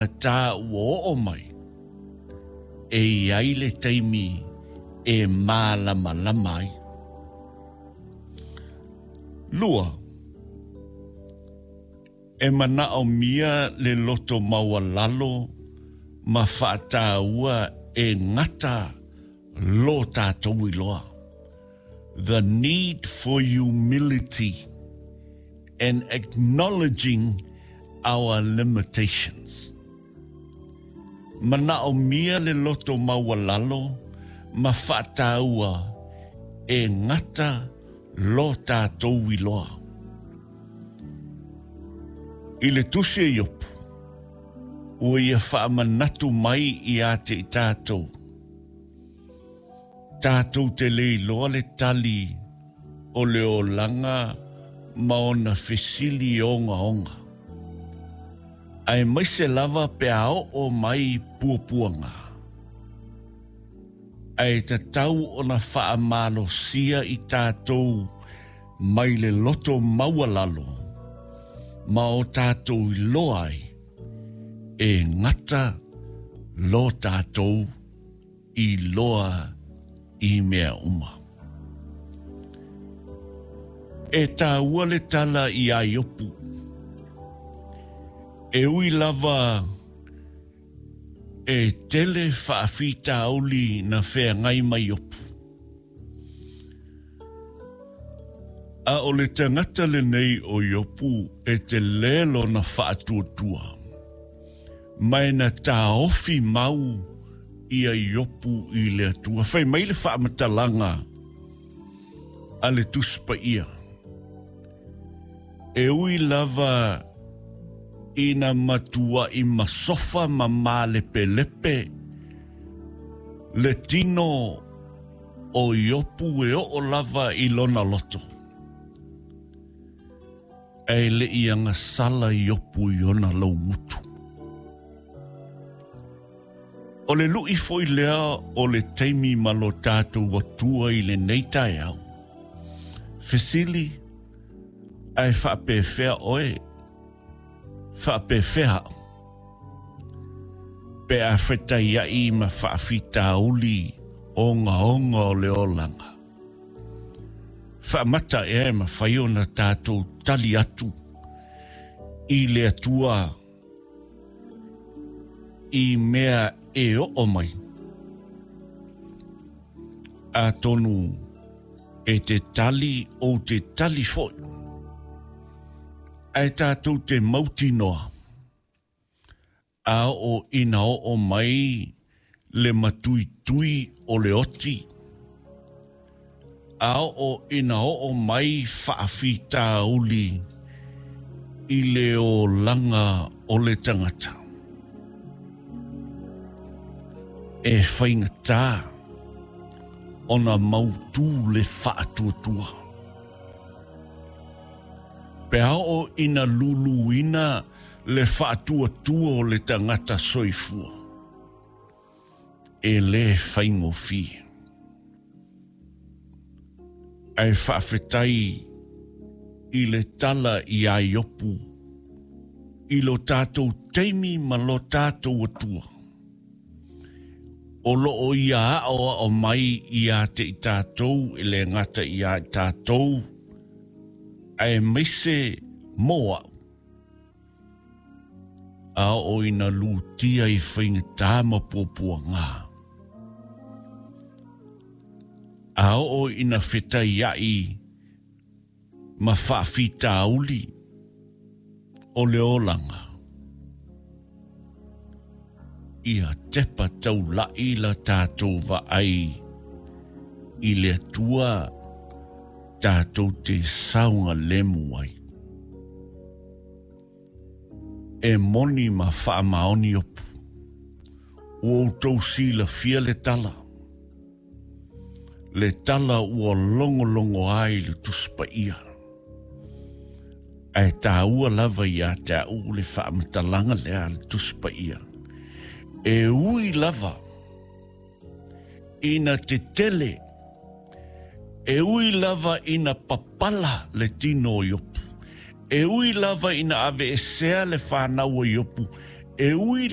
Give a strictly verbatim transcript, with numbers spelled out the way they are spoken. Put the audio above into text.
Tā ua oo mai, e i ai le taimi e malamalama ai. Lua, e manaomia le loto maualalo ma faataua e gata lo tatou iloa. The need for humility and acknowledging our limitations. Manaomia le loto maualalo ma faataua e gata lo tatou iloa. I le tusi a Iopu, ua ia faamanatu mai ia te i tatou. Tatou te le iloa le tali o le olaga ma ona fesili ogaoga. Aemaise lava pe a oo mai puapuaga. Ae tatau ona faamalosia i tatou mai le loto maualalo ma o tatou iloa ai e gata lo tatou iloa i mea uma. E taua le tala ia Iopu. E ui lava e tele faafitauli na feagai ma Iopu. A o le tagata lenei o Iopu e tele lona faatuatua. Ma e na taofi mau ia Iopu i le Atua. Fai mai le faamatalaga a le Tusi Paia. E ui lava ina matuai masofa ma malepelepe le tino o Iopu e oo lava i lona loto. Ae le i agasala Iopu i ona laugutu. O le lui foi lea o le taimi ma lo tatou Atua i lenei taeao. Fesili, ae faapefea oe, faapefea au. Pe a fetaiai ma faafitauli ogaoga o le olaga. Faamata ea e mafai ona tatou tali atu i le Atua i mea e oo mai. Atonu e te tali ou te tali foi. Ae tatou te mautinoa. A oo ina oo mai le matuitui o le oti. A oo ina oo mai faafitauli i le olaga o le tagata. E faigata ona mautū le faatuatua. Pe a oo ina luluina le faatuatua o le tagata soifua. E le faigofie. Ae faafetai i le tala ia Iopu i lo tatou taimi ma lo tatou Atua. O loo ia aoao mai ia te i tatou e le gata ia i tatou aemaise mo au. A oo ina lutia i faigata ma puapuaga. A oo ina fetaiai ma faafitauli o le olaga. Ia tepa taulai la tatou vaai i le Atua tatou te saogalemu ai. E moni ma faamaoni Iopu. Ua outou silafia le tala. Le tala ua logologo ai le Tusi Paia. Ae taua lava ia te au le faamatalaga lea a le Tusi Paia. E ui lava ina tetele, e ui lava ina papala le tino o Iopu, e ui lava ina aveesea le fanau o Iopu, e ui